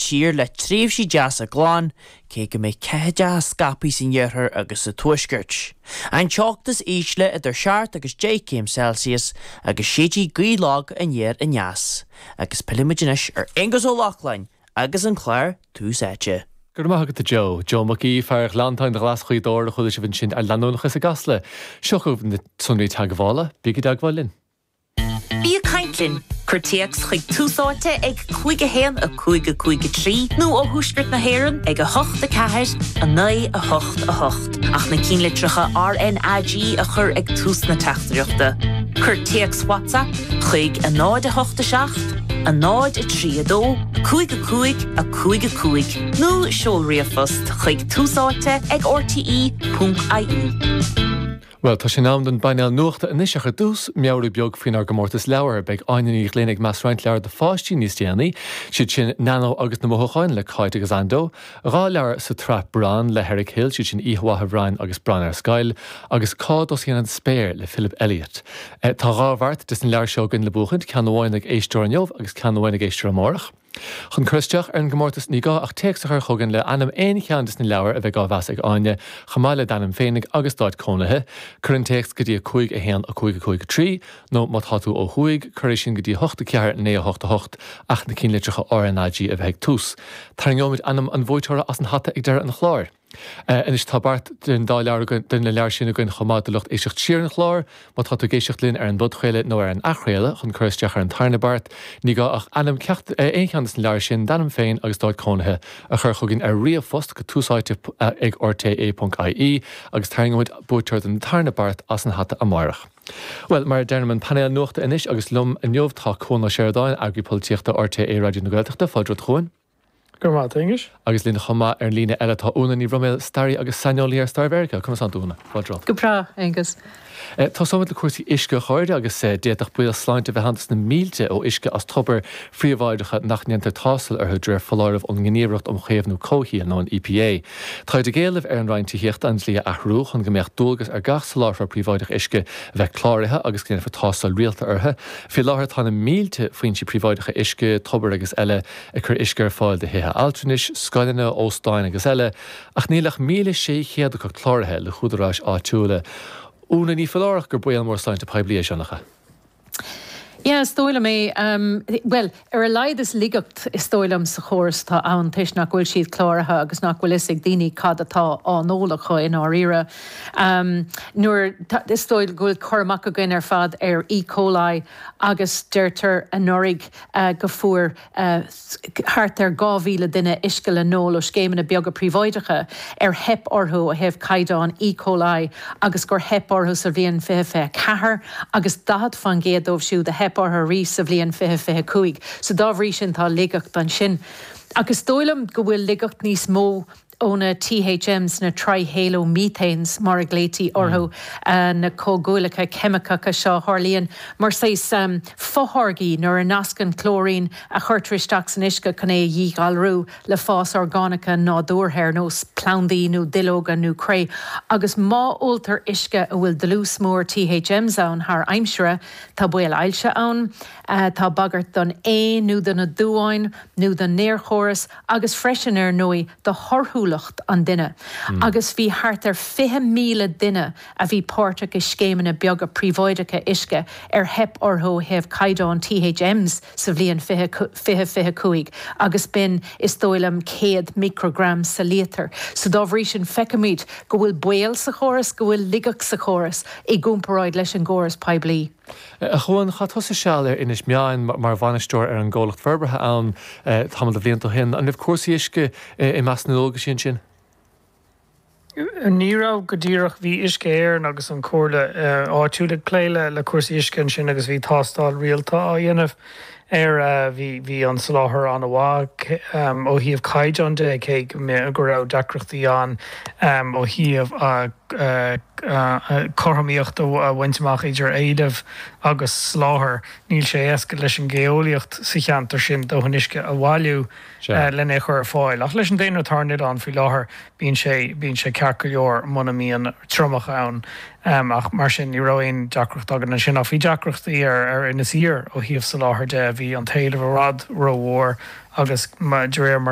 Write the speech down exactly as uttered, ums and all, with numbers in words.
tír le tréimhsí deasa glan, cé go mbeidh ceathaideacha scaipthe san iarthar agus sa tuaisceart. An teocht is ísle idir seacht agus deich céim Celsius agus séidfidh gaoth lag aniar aneas. Agus pillfimid anois ar Aonghus Ó Lochlainn agus an clár Tús Áite. Go raibh maith agat a Joe, Joe Mac Aoidh, fear Ghleanntáin Ghlas Ghaoth Dobhair a chuala sibh ansin ar leanúnachas i gCasla. Seo chugaibh na sonraí teagmhála, bígí i dteagmháil linn. Bí ag caint linn, cuir téacs chuig Tús Áite ag cúig a haon a cúig a cúig a trí nó ó thuaisceart na hÉireann ag a hocht a ceathair a naoi a hocht a hocht. Ach na cinnlitreacha RNAG a chur ag tús na teachtaireachta. Cuir téacs WhatsApp chuig a náid a hocht a seacht, a náid a trí a dó, cúig a cúig a cúig a cúig, nó seol ríomhphost chuig túsáite ag RTE ponc IE. Bhuel, tá sé in am don bpainéal nuachta anois ach ar dtús, meabhrú beag faoinár gcomórtas leabhar. Beidh Áine Ní Ghlinn ag meas roinnt leabhar do pháistí níos déanaí, siad sin Nano agus na Mothúcháin le Cáit agus Ando, dhá leabhar sa tsraith Bran le Eric Hill, siad sin Oíche Mhaith a Bhrain agus Bran ar Scoil, agus Cá dTosaíonn an Spéir le Philip Elliott. Tá dhá bheart des na leabhair seo againn le buachaint, ceann amháin ag éisteoir inniu agus ceann amháin ag éisteoir amárach. Chun cur isteach ar an gcomórtas ní gá ach téacs a chur chugainn le ainm aon cheann des na leabhair a bheidh á mheas ag Áine, chomh maith le d'ainm féinig agus d'áit cónaithe. Cuir an téacs go dtí a cúig a haon a cúig a cúig a trí, nó má tá tú ó thuaidh, cuir é sin go dtí a hocht a ceathair naoi a hocht a hocht ach na cinnlitreacha RNAG a bheith ag tús. Tarraingeoimid ainm an bhuaiteora as an hata ag deireadh an chláir. Anois tá beart den dá leabhar de na leabhair sin againn chomh maith do lucht éisteacht siar an chláir, má tá tú ag éisteacht linn ar an bpodchraoladh nó ar an athchraoladh chun cur isteach ar an tarna beart, ní gá ach ainm ceacht aon cheann des na leabhair sin d'ainm féin agus d'áit cónaithe a chur chugainn ar ríomhphost go túsáite ag rte.ie agus tarraingeoimid buaiteoir den tarna beart as an hata amárach. Well, mar a deirim an painéal nuachta anois agus liom inniu tá Cuan Ó Seireadáin, eagraí polaitíochta RTÉ Raidió na Gaeltachta, fáilte romhat a Chuain. Go raibh maith agat, Aonghus. Agus linn chomh maith ar an líne eile tá Úna Ní Bhroiméil, staraí agus saineolaí ar stair Mheiriceá. Conas tánn tú, Úna? Fáilte romhat. Go breá, Aonghus. Tosóimid le cúrsaí uisce a chairde agus d'fhéadfadh baol sláinte bheith ann dos na mílte ó uisce as tobair phríobháideacha nach ndéantar tástáil orthu de réir foláireamh ón nGníomhaireacht um Chaomhnú Comhshaoil nó an EPA. Táid ag éileamh ar an Roinn Tithíochta an dlí a athrú chun go mbeadh dualgas ar gach soláthróir príobháideach uisce a bheith cláraithe agus go ndéanfar tástáil rialta orthu. Faoi láthair tá na mílte foinsí príobháideacha uisce, tobair agus eile ag cur uisce ar fáil do thithe altranais, scoileanna, óstáin agus eile, ach níl ach míle sé chéad acu cláraithe le húdaráis áitiúla. Úna ní foláir gur baol mór sláinte poiblí é seo nach ea? Yeah, is dóigh liom é. Um, well, ar a laghad is laigeacht is dóigh liom sa chóras atá ann toisc nach bhfuil siad cláraithe agus nach bhfuil fhios ag daoine cad atá á n-ól acu i ndáiríre. Um, nuair is dóigh go bhfuil cur amach againn ar fad ar E. coli agus deirtear anuraidh uh, go bhfuair uh, thart ar dhá mhíle duine uisce le n-ól ó scéimeanna beaga príobháideacha ar theip orthu ó thaobh caighdeán E. coli agus gur theip orthu sa bhliain fiche fiche ceathair agus daichead faoin gcéad dóibh siúd a theip orthu arís sa bhliain fiche fiche cúig. So dá bhrí sin tá laigeacht ansin. Agus dóigh liom go bhfuil laigeacht níos mó ó na THMs na trihalomethanes mar a ghlaoití orthu uh, na comhdhúile ceimiceacha seo tharlaíonn mar saghas um, fotháirgí nuair a nascann clóirín a chuirtear isteach san uisce chun é a dhíghalrú le fás orgánacha nádúrtha ar nós plandaí nó duilleoga nó cré. Agus má óltar uisce a bhfuil dlús mór THMs ann thar aimsire, tá baol ailse ann, uh, tá bagairt don aon nó do na duáin nó don néarchóras agus freisin ar ndóigh do thorthúlacht an duine. Mm. Agus bhí thart ar fiche míle duine a bhí páirteach i scéimeanna beaga príobháideacha uisce ar theip orthu ó thaobh caighdeán THMs sa bhliain fiche fiche cúig agus b'in is dóigh liom céad microgram sa líotar. So dá bhrí sin feicimid go bhfuil baol sa chóras go bhfuil laigeacht sa chóras i gcomparáid leis an gcóras poiblí. A Chuain chaith tusa seal ar Inis Meáin mar bhainisteoir ar an gcomhlacht forbartha ann tamall de bhlianta ó shin. An raibh cúrsaí uisce i measc na ndualgaisí ansin? Ní raibh go díreach bhí Uisce Éireann agus an Comhairle áitiúil ag plé le le cúrsaí uisce ansin agus bhí tástáil rialta á dhéanamh ar bhí bhí an soláthar an-mhaith ó thaobh caighdeán de cé go raibh deacrachtaí ann ó thaobh cothromaíocht a bhaint amach idir éileamh agus soláthar. Níl sé éasca leis an geolaíocht sa cheantar sin dóthain uisce a bhailiú lena chur ar fáil. Ach leis an daonra atá ar an oileán faoi láthair bíonn sé bíonn sé ceart go leor muna mbíonn triomach ann. Ach mar sin ní raibh aon deacracht againn ansin ach bhí deacrachtaí ar ar Inis Oírr ó thaobh soláthair de bhí an t-éileamh i bhfad rómhór agus de réir mar